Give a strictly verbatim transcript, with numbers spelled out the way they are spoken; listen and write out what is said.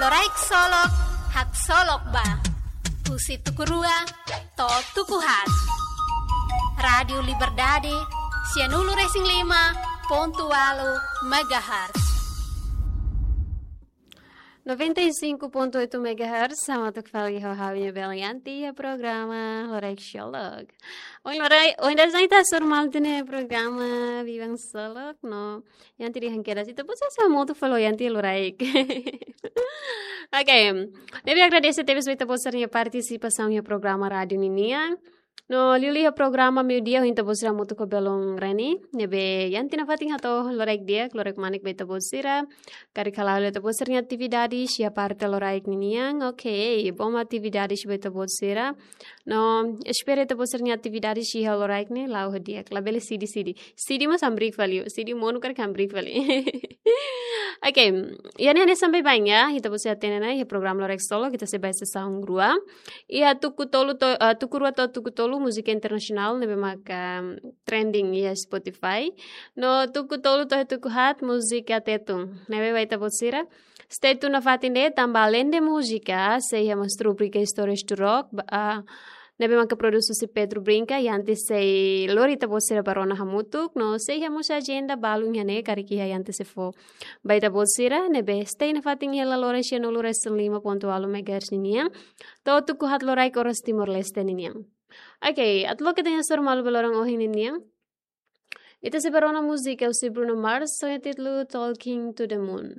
Loraik Solok, haksolok ba. Husi tuku rua to'o tuku haat. Rádiu Liberdade, sianulu-resin-lima pontu ualu megahertz. Noventa e cinco ponto oito megahertz, hamutuk fali ho ha'u-nia bele Yanti iha programa Loraik Solok. Ohin loraik, ohin dadaun ita hasoru malu tiha ona iha programa Biban Solok, no Yanti dehan kedas, ita-boot sira hamutuk fali ho Yanti loraik. Oke, ne'ebé agradese tebes ba ita-boot sira-nia partisipasaun iha programa rádiu ninian. No liuliu iha programa meiudia ho ita-boot sira hamutuk ho belun Reni. Ne'ebé Yanti nafatin hato'o loraik di'ak, loraik manik ba ita-boot sira. Karik hala'o ita-boot sira-nia atividade iha parte loraik ninian. Oke, bom atividade ba ita-boot sira. No espera ita-boot sira-nia atividade iha loraik ne'e la'o ho di'ak. Labele sidi-sidi. Sidi mós hamriik fali, sidi monu karik hamriik fali. Oke, iha ne'e hanesan baibain ya, ita-boot sira hatene ona iha programa Loraik Solok, ita sei ba iha sesaun rua. Iha tuku tolu to, eh, tuku rua to'o tuku tolu múzika internasionál ne'ebé maka trending iha Spotify. No tuku tolu to'o tuku haat múzika Tetun. Ne'ebé ba ita-boot sira, stay tune nafatin de'it tanba alende múzika, sei iha mós rubrika Histórias do Rock, ba, ah, ne'ebé maka produs husi Pedro Brinca, Yanti sei lori ita-boot sira ba rona hamutuk, no sei iha mós ajenda balun iha ne'e karik iha Yanti sei fó ba ita-boot sira, ne'ebé stay nafatin iha laloran sianulu-resin-lima pontu ualu megahertz ninian, to'o tuku haat loraik oras Timor-Leste ninian. Oke, atu loke ita-nia hasoru malu ba loron ohin ninian. Ita sei ba rona múzika husi Bruno Mars, ho títulu Talking to the Moon.